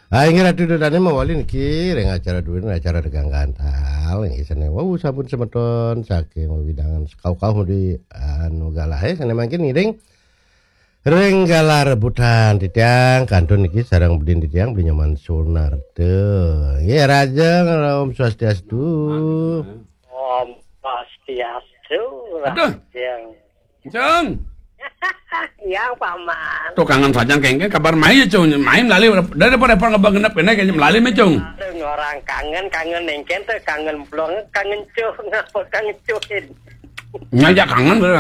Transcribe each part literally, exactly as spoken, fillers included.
Ah, inggih Ratu Ida Dané mawali niki ring acara duwin, acara Tegang Gantal. Inggih sané wau sampun semeton saking wewidangan sekauh-kauh di anu galahe sané mangkin ngiring ring galah rebutan titiang kantun niki sareng budin titiang Beli Nyoman Sunarta. Nggih, Rajeng, Om Swastiastu. Om Swastiastu, Aduh. Rajeng. Cung. Iya, Paman. Tuh kangen saja kengke kabar mai ya, Cung. Mai melali udah dapat dapat ngebang genep kena kayaknya melali mah, Cung. Aduh, orang kangen, kangen nengken tuh, kangen blong, kangen cuh, ngapa kangen cuhin. Ngajak kangen tuh.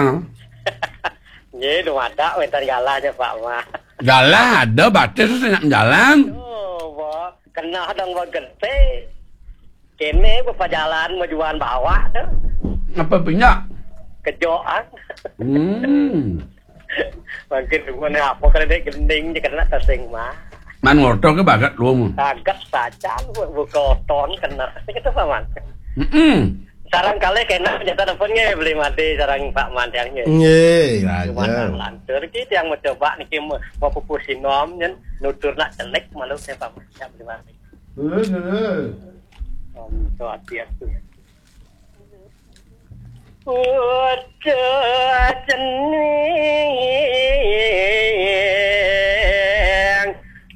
Nggih, nu ada wénten galahnya, Pak Mah. Galah ada batis terus nak jalan. Oh, Bo. Kena dong, Bo, gede. Kene bepajalan majuan bawah tuh. Apa punya? Kejoan. Hmm. Mungkin mana apa kalau dia gending je kena tasing mah. Man ngorto ke bagat lu mu. Bagat saja lu buka oton kena. Kita sama. Mm-mm. Sarang kali kena nyata telepon nge beli mati sarang Pak Mandiang nge. Nggih, Cuma Raja. Lantur ki yang mau coba niki mau, mau pupus sinom nyen nutur nak celik malu saya Pak Mandiang beli mati. Heeh, heeh. Om to ati atu. Udah cening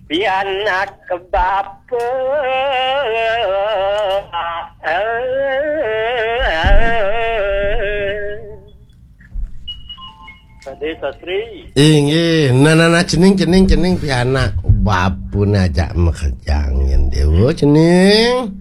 pianak bapa. Tadi Sastri. Inggih, nah, nah, nah, cening, cening, cening pianak bapune ajak makejang yen dewa cening.